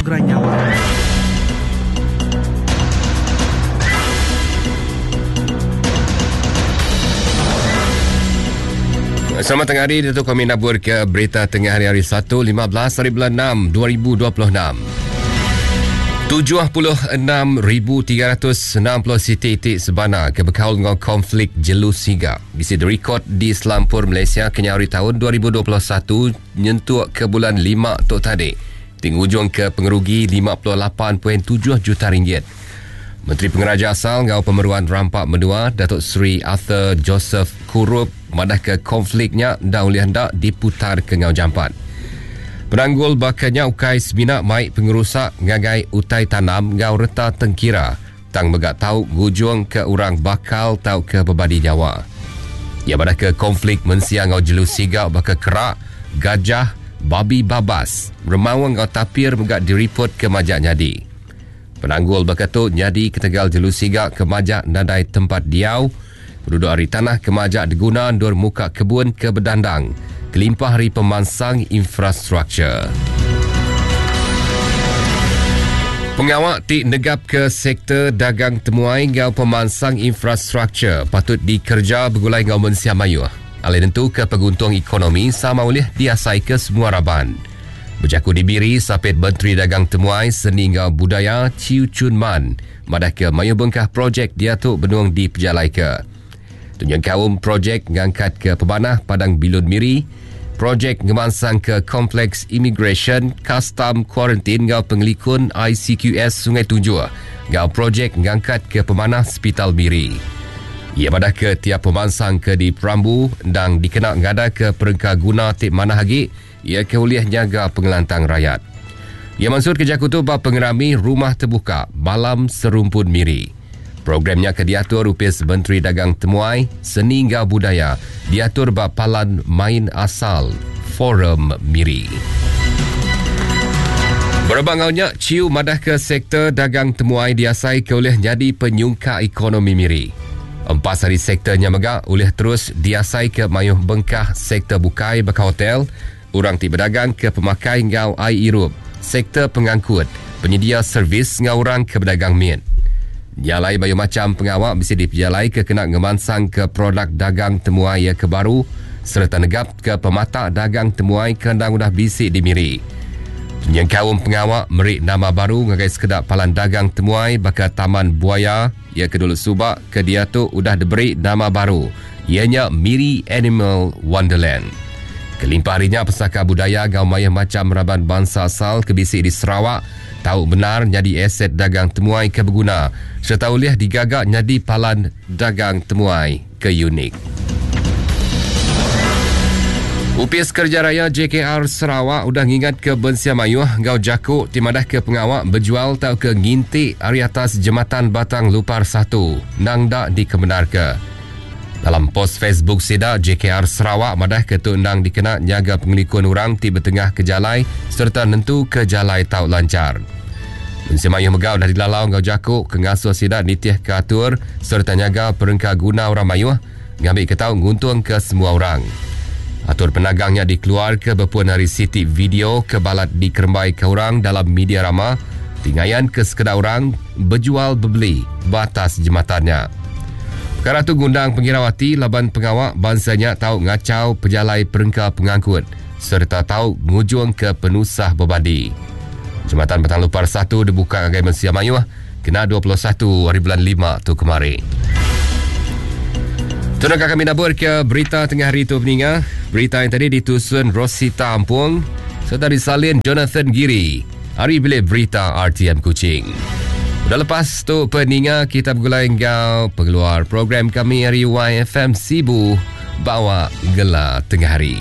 gerai nyamai. Selamat tengah hari, Datuk kami nabur ke berita tengah hari hari 1, 15 hari bulan 6, 2026. 76,360 siti iti sebana ke bekaul enggau konflik jelu siga bisi dirikod di selampur Malaysia kenyau ari taun 2021 nyentuk ke bulan lima tu tadi ti ngujungka pengerugi 58.7 juta ringgit. Menteri Pengeraja Asal enggau Pemeruan Rampa Menua Datuk Seri Arthur Joseph Kurup madahka konflik nya enda ulih enda diputarka enggau jampat. Penanggul baka nya ukai semina mai pengerusak ngagai utai tanam enggau reta tengkira tang mega tau ngujungka orang bakal tauka bebadi nyawa. Iya madahka konflik mensia enggau jelu siga baka kerak, gajah, babi babas, remaung enggau tapir mega diripotka majak nyadi. Penanggul baka tu nyadi ketegal jelu siga ke majak nadai tempat diau, Beduduk ari tanah ke majak diguna endur muka kebun ke bedandang kelimpah ari pemansang infrastruktur. Pengawa ti negapka sektor dagang temuai enggau pemansang infrastruktur patut dikereja begulai enggau mensia mayuh alai nentuka penguntung ekonomi sama ulih diasaika semua raban. Bejaku di Miri, Sapit Menteri Dagang Temuai, Seni enggau Budaya Chew Chun Man madahka mayuh bengkah projek diatu benung dipejalaika. Tu nyengkaum projek ngangkatka pemanah Padang Bilun Miri, projek ngemansangka Kompleks Imigresen, Kastam, Kuarantin enggau Pengelikun ICQS Sungai Tunjur enggau projek ngangkatka pemanah Sepital Miri. Iya madahka tiap pemansang ke diperambu endang dikena ngadaka perengka guna ti manah agi Iya ke ulih nyaga pengelantang rayat. Iya mansutka jaku tu ba pengerami Rumah Tebuka Malam Serumpun Miri. Program nya ke diatur Opis Menteri Dagang Temuai, Seni enggau Budaya diatur ba Palan Main Asal Forum Miri. Berebak enggau nya, Chew madahka sektor dagang temuai diasai ke ulih nyadi penyungkak ekonomi Miri. Empas ari sektor nya mega ulih terus diasaika mayuh bengkah sektor bukai baka hotel, orang ti bedagang ke pemakai enggau ai irup, sektor pengangkut, penyedia servis enggau orang ke bedagang mit. Nya alai mayuh macham pengawa bisi dipejalaika kena ngemansangka produk dagang temuai iya ke baru sereta negapka pematak dagang temuai ke endang udah bisi di Miri. Nyengkaum pengawa meri nama baru ngagai sekeda palan dagang temuai baka Taman Buaya, Iya ke dulu suba ke diatu udah diberi nama baru iya nya Miri Animal Wonderland. Kelimpah ari nya pesaka budaya enggau mayuh macham raban bansa asal ke bisi di Sarawak tau bendar nyadi aset dagang temuai ke beguna sereta ulih digaga nyadi palan dagang temuai ke unik. Opis Kereja Raya JKR Sarawak udah ngingatka mensia mayuh enggau jaku ti madahka pengawa bejual tauka nginti ari atas Jematan Batang Lupar satu endang enda dikemendarka. Dalam pos Facebook sida, JKR Sarawak madahka tu endang dikena nyaga pengelikun orang ti betengahka jalai sereta nentuka jalai tau lanchar. Mensia mayuh mega udah dilalau enggau jaku ke ngasuh sida nitihka atur sereta nyaga perengka guna orang mayuh ngambika tau nguntungka semua orang. Atur penagang nya dikeluarka bepun ari siti video ke balat dikerembaika orang dalam media rama ti ngayanka sekeda orang bejual bebeli ba atas jematan nya. Pekara tu ngundang pengirau ati laban pengawa bansa nya tau ngachau pejalai perengka pengangkut sereta tau ngujungka penusah bebadi. Jematan Batang Lupar satu dibuka ngagai mensia mayuh kena 21 hari bulan lima tu kemari. Tu naka kami nabur ke berita tengah hari tu peninga. Berita yang tadi ditusun Rosita Ampung serta disalin Jonathan Giri ari bilik berita RTM Kuching. Udah lepas tu peninga kita begulai enggau pengeluar program kami ari YFM Sibu bawa gela tengah hari.